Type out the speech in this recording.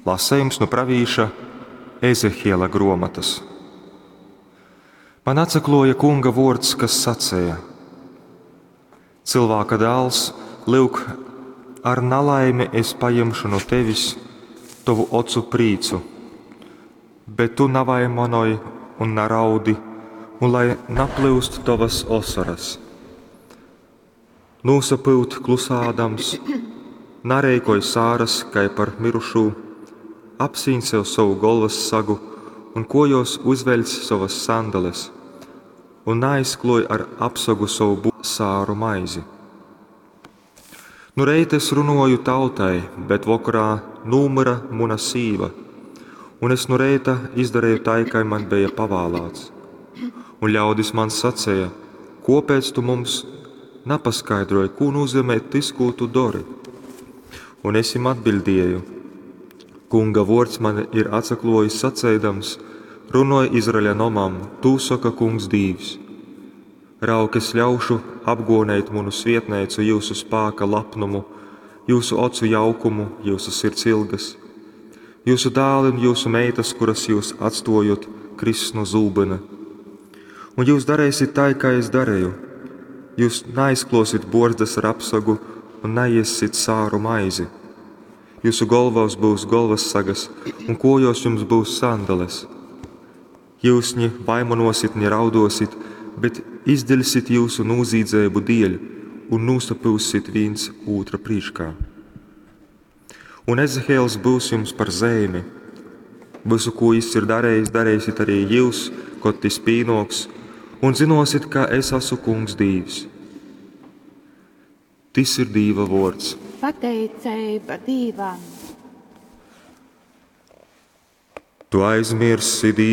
Lasejums nu pravīša Ezehiela gruomotys. Man atsakluoja Kunga vuords, kas saceja, Cylvāka dāls, lyuk, ar nalaimi es pajimšu nu tevis tovu ocu prīcu, bet tu navaimanoj un naraudi, un lai naplyust tovas osoras. Nūsapyut klusādams, nareikoj sāras kai par myrušū, apsīņ sev sovu golvas sagu un kuojuos uzveļc sovas sandales un naaizkluoj ar apsagu sovu sāru maizi. Nu reita es runuoju tautai, bet vokorā nūmyra muna sīva, un es nu reita izdareju tai, kai man beja pavālāts. Un ļaudis man saceja: Kuopēc tu mums napaskaidroj, kū nūzeimej tys, kū tu dori? Un es jim atbiļdieju: Kunga vuords man ir atsakluojis saceidams: Runoj Izraeļa nomam, tū soka Kungs Dīvs. Raug, es ļaušu apguoneit munu svietneicu jyusu spāka lapnumu, jyusu ocu jaukumu, jyusu sirds ilgas. Jyusu dāli un jyusu meitas, kuras jyus atstuojot, kriss nu zūbyna. Un jyus dareisit tai, kai es dareju. Jyus naaizkluosit buorzdas ar apsagu un naiessit sāru maizi. Jyusu golvās byus golvassagas un kuojuos jums byus sandales. Jyus ni vaimanuosit, ni rauduosit, bet izdiļsit jyusu nūzīdzeibu dieļ un nūsapyussit vīns ūtra prīškā. Un Ezehiels byus jums par zeimi. Vysu, kū jis ir darejis, dareisit arī jyus, kod tys pīnuoks, un zynuosit, ka es asu Kungs Dīvs. Tys ir Dīva vuords. Pateiceiba Dīvam! Tu aizmiersi Dīvu.